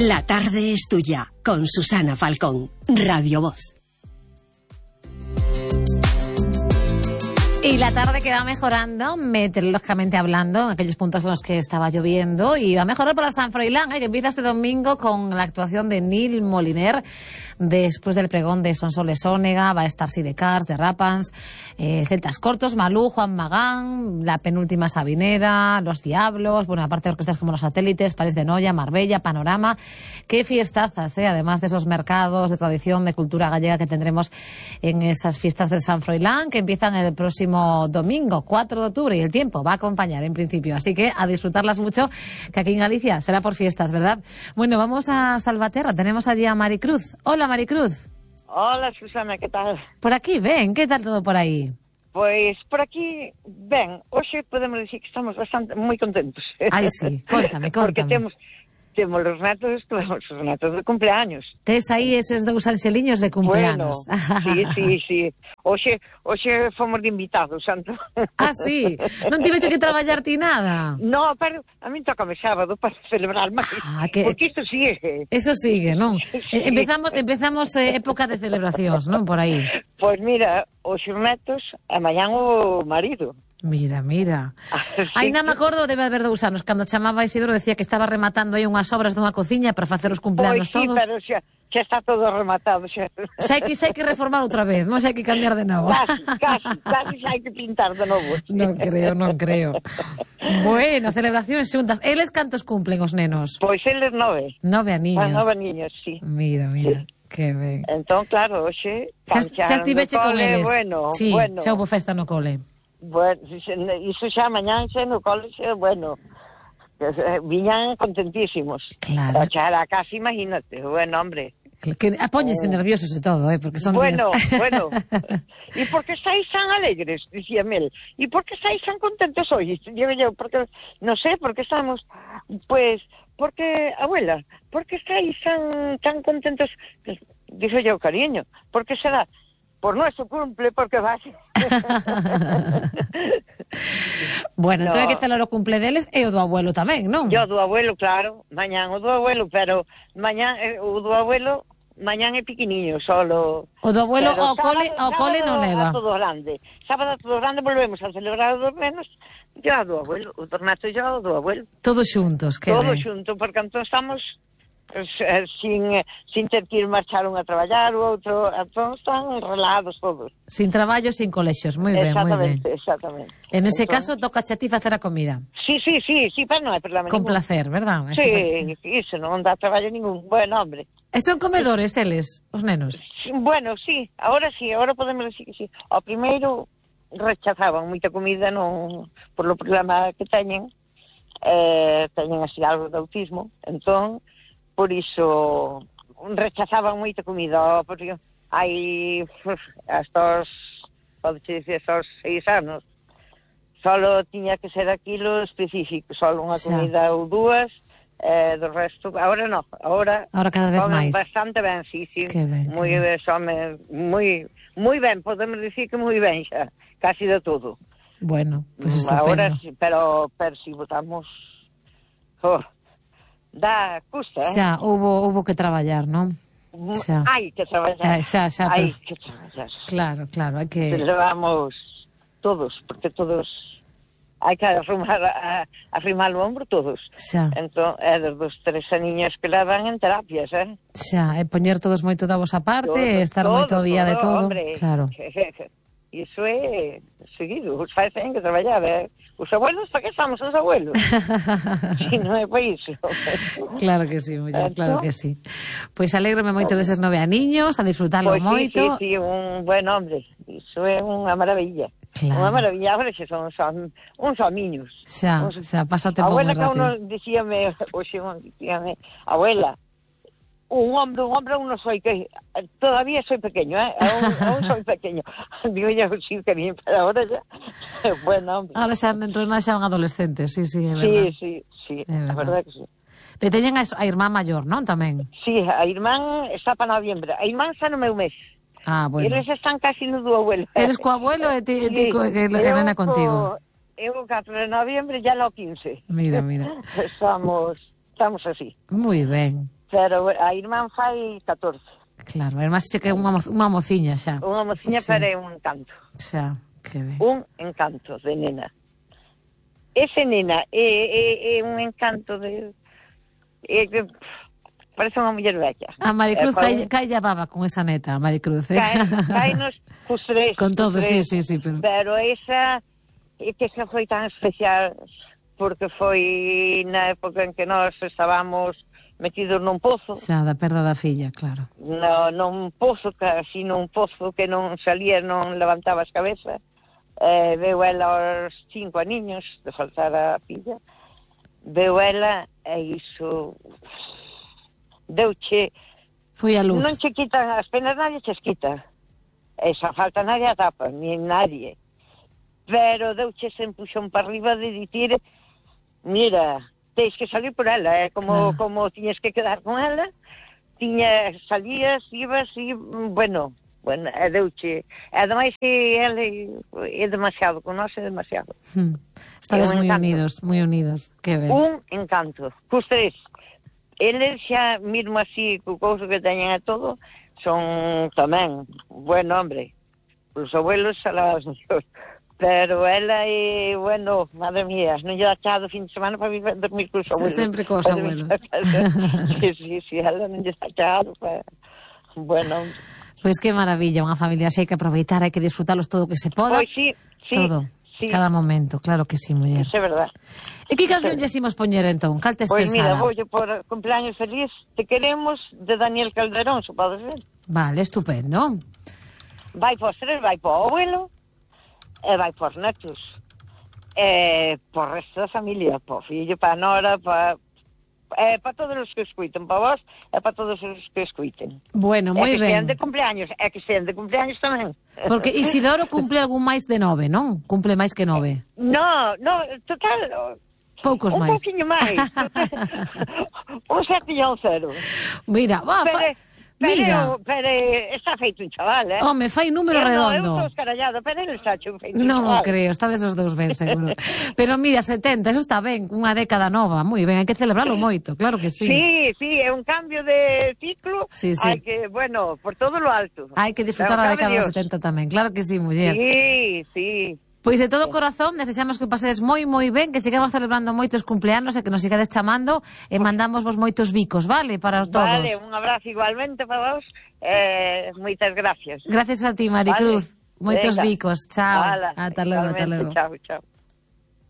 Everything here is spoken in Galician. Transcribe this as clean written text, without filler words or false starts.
La tarde es tuya, con Susana Falcón, Radio Voz. Y la tarde que va mejorando, meteorológicamente hablando, en aquellos puntos en los que estaba lloviendo, y va a mejorar para San Froilán, que empieza este domingo con la actuación de Nil Moliner. Después del pregón de Sonsoles Onega, va a estar Sidecars, de Rapans, Celtas Cortos, Malú, Juan Magán, la penúltima Sabinera, Los Diablos, bueno, aparte de orquestas como Los Satélites, París de Noia, Marbella, Panorama. Qué fiestazas, además de esos mercados de tradición, de cultura gallega que tendremos en esas fiestas del San Froilán, que empiezan el próximo domingo, 4 de octubre, y el tiempo va a acompañar en principio. Así que a disfrutarlas mucho, que aquí en Galicia será por fiestas, ¿verdad? Bueno, vamos a Salvaterra, tenemos allí a Maricruz. Hola, Maricruz. Hola, Susana, ¿qué tal? Por aquí, ven, ¿qué tal todo por aí? Pois por aquí, ben, hoxe podemos dicir que estamos moi contentos. Ai, sí, contame. Porque temos os netos de cumpleaños. Tes aí eses dous anxeliños de cumpleaños. Bueno, sí. Hoxe fomos de invitados, santo. Ah, sí? Non tiveche que traballar ti nada? No, pero a mí tócame sábado para celebrar máis. Porque isto sigue. Eso sigue, non? Sí. Empezamos época de celebracións, non? Por aí. Pois mira, os netos, a mañán o marido. Mira. Ainda me acordo, debe haber 2 anos, cando chamaba Isidro, decía que estaba rematando aí unhas obras dunha cociña para facer os cumpleanos todos. Pois sí, pero xa está todo rematado. Xa hai que reformar outra vez, non hai que cambiar de novo. Casi xa hai que pintar de novo. Non creo. Bueno, celebracións xuntas. Eles cantos cumplen os nenos? Pois eles 9. 9 aniños. 9 aniños, sí. Mira. Que ben. Entón, claro, hoxe... Xa estiveche con eles? Bueno. Xa houve festa no cole. Bueno, iso xa mañán xa no cole, bueno, viñan contentísimos. Claro. Xa era casi, imagínate, bueno, hombre. Que apóñese nerviosos e todo, porque son... Bueno. E por que estáis tan alegres, dicía Mel? E por que estáis tan contentos hoy? Digo yo, porque, non sei, porque estamos, pues, porque, abuela, por que estáis tan contentos? Dixo yo, cariño, por que será? Por nuestro cumple, porque vas. Bueno, entón hai que celebrar o cumple deles e o do abuelo tamén, non? Yo do abuelo, claro, mañán o do abuelo, pero mañán o do abuelo mañán é piquiniño, solo. O do abuelo ao cole non leva. Sábado a todo grande volvemos a celebrar o dos menos, yo a do abuelo, o tornato yo o do abuelo. Todos xuntos, que Todos xuntos, porque entón estamos sin ter que ir marchar un a traballar, o outro, entón están relados todos. Sin traballo, sin colexios, moi ben, moi ben. Exactamente. En ese caso, toca a ti facer a comida. Sí, pero non hai problema Con ningún. placer, verdad? Sí, iso non dá traballo ningún. Bueno, hombre. E son comedores, eles, os nenos? Bueno, sí, ahora podemos decir que sí. Ao primeiro rechazaban moita comida por lo problema que teñen así algo de autismo, entón por iso rechazaban moita comida, porque hai hasta os 6 anos solo tiña que ser aquilo específico, solo unha comida ou 2, do resto, agora non, agora cada vez máis. Bastante ben, sí, ben, moi ben, podemos dicir que moi ben xa, casi de todo. Bueno, pues estupendo. Agora, pero si votamos custa, Xa, hubo que traballar, non? Hai que traballar. Hai que traballar. Claro, hai que... Levamos todos, porque todos hai que arrimar o ombro todos. Xa. Entón, dos 3 aniños que levan en terapias, Xa, e poñer todos moito da vosa parte, estar moito día de todo. Hombre, claro. Iso é seguido, os pais ten que traballar, Os abuelos, para que estamos os abuelos? Si non é para iso. Claro que sí, muller, claro que sí. Pois alégrome moito deses 9 aniños, a disfrutarlo moito. Sí, un buen hombre, iso é unha maravilla. Claro. Unha maravilla, agora xe son uns homiños. Xa, pasa o tempo moi rápido. Abuela, que uno dicíame, abuela, un hombre aún no soy, que todavía soy pequeño, aún soy pequeño. Digo yo, sí, cariño, pero ahora ya, bueno, hombre. Ahora xa dentro de nada xa son adolescentes, sí, é verdad. Sí, a verdad que sí. Pero teñen a irmán maior, non, tamén? Sí, a irmán está para noviembre, a irmán está no meu mes. Ah, bueno. Eles están casi no do abuelo. Eres co abuelo e ti que nena contigo. Eu o 4 de noviembre, ya lo 15. Mira. Estamos así. Moi ben. pero a irmán fai 14. Claro, además che que é unha mociña xa. Unha mociña, Sí. pero é un encanto. Xa, que ben. Un encanto de nena. Ese nena é un encanto de... parece unha muller vella. A Maricruz cae a baba con esa neta, a Maricruz, Caenos cus tres. Con todo, sí, pero... Pero esa, que xa foi tan especial, porque foi na época en que nós estábamos metidos nun pozo. Xa, da perda da filla, claro. Nun pozo, casi nun pozo que non salía, non levantaba as cabezas. Veu ela aos 5 aniños de faltar a filla. Veu ela e iso deuche... Foi a luz. Non che quitan as penas, nadie che quita. Esa falta nadie a tapa, ni nadie. Pero deuche se empuxón para arriba de dicir, mira, tens que salir por ela, como tiñes que quedar con ela, salías, ibas e, bueno, deuche. Ademais que ele é demasiado, con nós é demasiado. Estades moi unidos, que ben. Un encanto. Cus tres. Eles xa, mesmo así, co couso que teñen a todo, son tamén, bueno, hombre, os abuelos alados Dios. Pero ela é, bueno, madre mía, non lle dá chado fin de semana para dormir cos abuelos. Sempre cos abuelos. Sí, ela non lle dá chado para... Bueno, Pois que maravilla, unha familia así, hai que aproveitar, hai que disfrutalos todo o que se poda. Pois sí, todo, sí. Cada momento, claro que sí, muller. Isso é verdad. E que canción lle imos poñer entón? Cal tes Pois pensada? mira, voulle por cumpleaños feliz, Te queremos, de Daniel Calderón, se podes ver. Vale, estupendo. Vai por tres, vai por abuelo, e vai por netos, e por resto da familia, por fillo, para nora, para todos os que escuiten, para vos e para todos os que escuiten. Bueno, moi ben. E que sean de cumpleaños tamén. Porque Isidoro cumple algún máis de 9, non? Cumple máis que 9. No, total... Poucos máis. Un pouquinho máis. Un 7 e un 0. Mira, mira. Pero está feito un chaval, Home, fai número redondo. Eu estou escarallado, pero ele está feito un chaval. Non o creo, está desos dous ben, seguro. Pero mira, 70, eso está ben, unha década nova, moi ben, hai que celebralo moito, claro que sí. Sí, é un cambio de ciclo, Sí. hai que, bueno, por todo lo alto. Hai que disfrutar a década dos 70 tamén, claro que sí, muller. Sí. Pois de todo corazón, desexamos que pasedes moi ben, que sigamos celebrando moitos cumpleanos e que nos sigades chamando e mandamos vos moitos bicos, vale? Para todos. Vale, un abrazo igualmente para vos. Moitas gracias. Gracias a ti, Maricruz. Vale. Moitos Venga. bicos. Chao. Hala, Ata logo. Chao.